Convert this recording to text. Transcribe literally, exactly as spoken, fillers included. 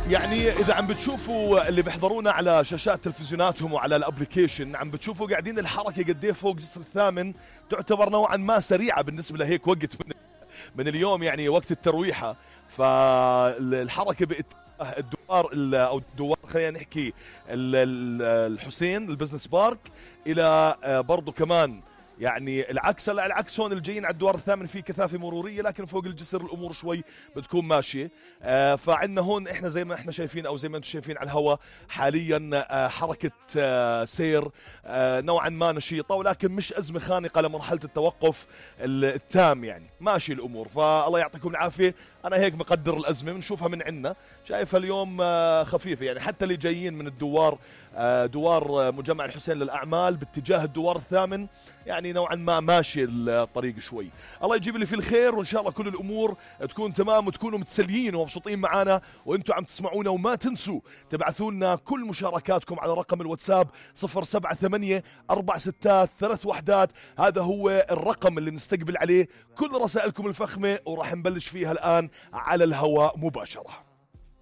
يعني إذا عم بتشوفوا اللي بيحضرونا على شاشات تلفزيوناتهم وعلى الابليكيشن، عم بتشوفوا قاعدين الحركة قديه فوق جسر الثامن تعتبر نوعا ما سريعة بالنسبة لهيك وقت من, من اليوم، يعني وقت الترويحة. فالحركة باتجاه الدوار أو الدوار خلينا نحكي الحسين البزنس بارك إلى برضو كمان يعني العكس. لا العكس، هون الجايين على الدوار الثامن في كثافة مرورية، لكن فوق الجسر الأمور شوي بتكون ماشية. آه فعندنا هون إحنا زي ما إحنا شايفين أو زي ما أنتم شايفين على الهواء حاليا آه حركة آه سير آه نوعا ما نشيطة، ولكن مش أزمة خانقة لمرحلة التوقف التام، يعني ماشي الأمور. فالله يعطيكم العافية. أنا هيك مقدر الأزمة، بنشوفها من عنا، شايفها اليوم آه خفيفة. يعني حتى اللي جايين من الدوار آه دوار مجمع الحسين للأعمال باتجاه الدوار الثامن يعني نوعا ما ماشي الطريق شوي. الله يجيب لي في الخير، وإن شاء الله كل الأمور تكون تمام وتكونوا متسليين ومبسوطين معنا وإنتوا عم تسمعونا. وما تنسوا تبعثوا لنا كل مشاركاتكم على رقم الواتساب صفر سبعة ثمانية أربع ستات ثلاث وحدات. هذا هو الرقم اللي نستقبل عليه كل رسائلكم الفخمة، وراح نبلش فيها الآن على الهواء مباشرة.